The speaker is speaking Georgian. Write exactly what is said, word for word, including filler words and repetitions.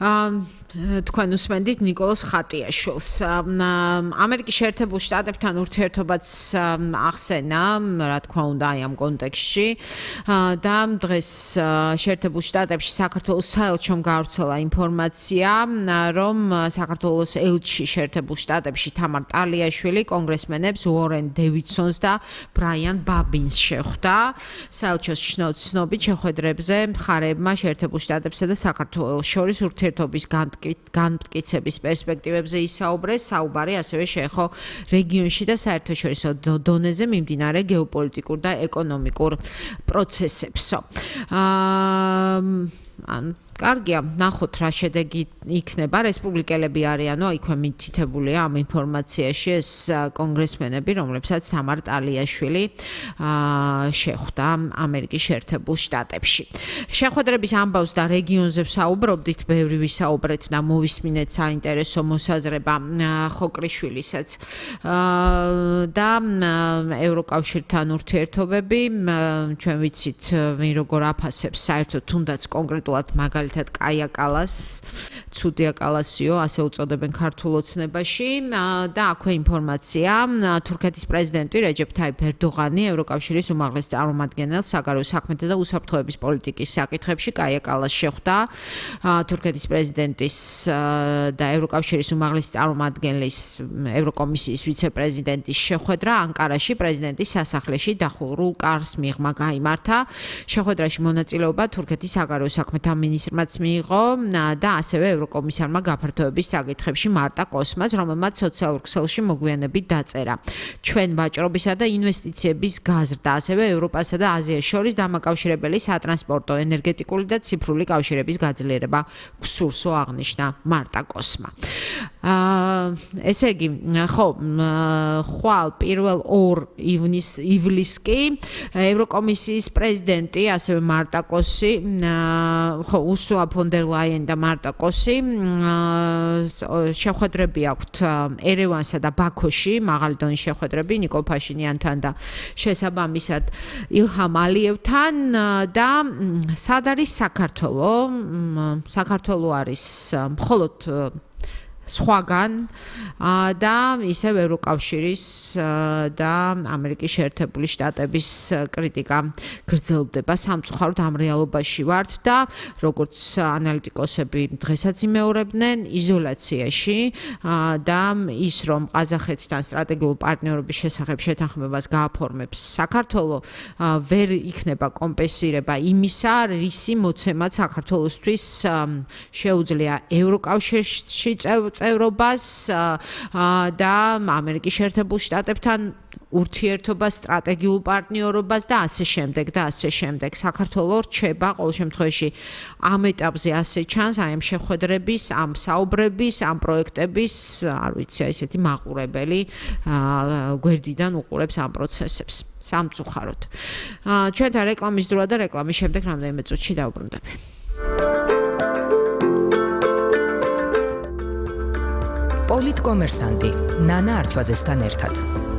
თქვენ უსმენდით ნიკოლოზ ხატიაშვილს. ამერიკის შეერთებულ შტატებთან ურთიერთობაც ახსენა, რა თქმა უნდა, აი ამ კონტექსტში და დღეს შეერთებულ შტატებში საქართველოს საელჩომ გავრცელა ინფორმაცია, რომ საქართველოს ელჩი შეერთებულ შტატებში თამარ ტალიაშვილი კონგრესმენებს უორენ დევიდსონს და ბრაიან ბაბინს შეხვდა. საელჩოს ცნობით შეხვედრებზე მხარეებმა შეერთებულ შტატებსა და საქართველოს შორის ურთიერთობის განმტკიცების პერსპექტივებზე ისაუბრეს, საუბარი ასევე შეეხო რეგიონში და საერთაშორისო დონეზე მიმდინარე გეოპოლიტიკურ და ეკონომიკურ პროცესებსო. ან კარგია, ნახოთ რა შედეგი იქნება. რესპუბლიკელები არიანო, იქვე მითითებულია ამ ინფორმაციაში ეს კონგრესმენები, რომლებსაც თამარ ტალიაშვილი შეხვდა ამერიკის შეერთებულ შტატებში. შეხვედრების ამბავს და რეგიონზე ვსაუბრობდით, ბევრი ვისაუბრეთ და მოვისმინეთ საინტერესო მოსაზრება ხოკრიშვილისაც და ევროკავშირთან ურთიერთობები. ჩვენ ვიცით, ვინ როგორ აფასებს საერთოდ თუნდაც კონკრეტულად მაგალითად კაია კალას, ცუდია კალასიო, ასე უწოდებენ ქართულ ოცნებაში და აქვე ინფორმაცია, თურქეთის პრეზიდენტი რეჯეფ თაიფ ერდოღანი ევროკავშირის უმაღლეს წარმომადგენელს საგარეო საქმეთა და უსაფრთხოების პოლიტიკის საკითხებში კაია კალას შეხვდა. თურქეთის პრეზიდენტის და ევროკავშირის უმაღლესი წარმომადგენლის ევროკომისიის ვიცე-პრეზიდენტის შეხვედრა ანკარაში პრეზიდენტის სასახლეში დახურულ კარს მიღმა გაიმართა. შეხვედრაში მონაწილეობა თურქეთის საგარეო საქმეთა მინისტრმა მიიღო და ასევე ევროკომისარმა გაფართოების საკითხებში მარტა კოსმას, რომელმაც სოციალურ ქსელში მოგვიანებით დაწერა. ჩვენ ვაჭრობისა და ინვესტიციების გაზრდა, ასევე ევროპასა და აზიას შორის დამაკავშირებელი სატრანსპორტო, ენერგეტიკული და ციფრული კავშირების გაძლიერება გსურსო აღნიშნა მარტა კოსმა. ესე იგი, ხო, ხვალ პირველ ორ ივლისს კი ევროკომისიის პრეზიდენტი, ასევე მარტა კოსი, ხო, Ursula von der Leyen და მარტა კოსი შეხვედრები აქვთ ერევანსა და ბაქოში, მაღალი დონის შეხვედრები ნიკოლ ფაშინიანთან და შესაბამისად ილჰამ ალიევთან და სად არის საქართველო? საქართველო არის მხოლოდ სხვაგან და ისევ ევროკავშირის და ამერიკის შეერთებული შტატების კრიტიკა გრძელდება. სამწუხაროდ ამ რეალობაში ვართ და როგორც ანალიტიკოსები დღესაც იმეორებდნენ, იზოლაციაში და ის რომ ყაზახეთთან სტრატეგიულ პარტნიორობის შესახებ შეთანხმებას გააფორმებს საქართველო, ვერ იქნება კომპენსირება იმისა, რისი მოცემაც საქართველოსთვის შეუძლია ევროკავშირში წევრობას და ამერიკის შეერთებულ შტატებთან ურთიერთობას, სტრატეგიულ პარტნიორობას და ასე შემდეგ და ასე შემდეგ. საქართველო რჩება ყოველ შემთხვევაში ამ ეტაპზე ასე ჩანს, აი ამ შეხვედრების, ამ საუბრების, ამ პროექტების, არ ვიცი, ესეთი მაყურებელი გვერდიდან უყურებს ამ პროცესებს. სამწუხაროდ. ჩვენთან რეკლამის დროა და რეკლამის შემდეგ რამდენიმე წუთში დავბრუნდები. პოლიტკომერსანტი ნანა არჩვაძესთან ერთად.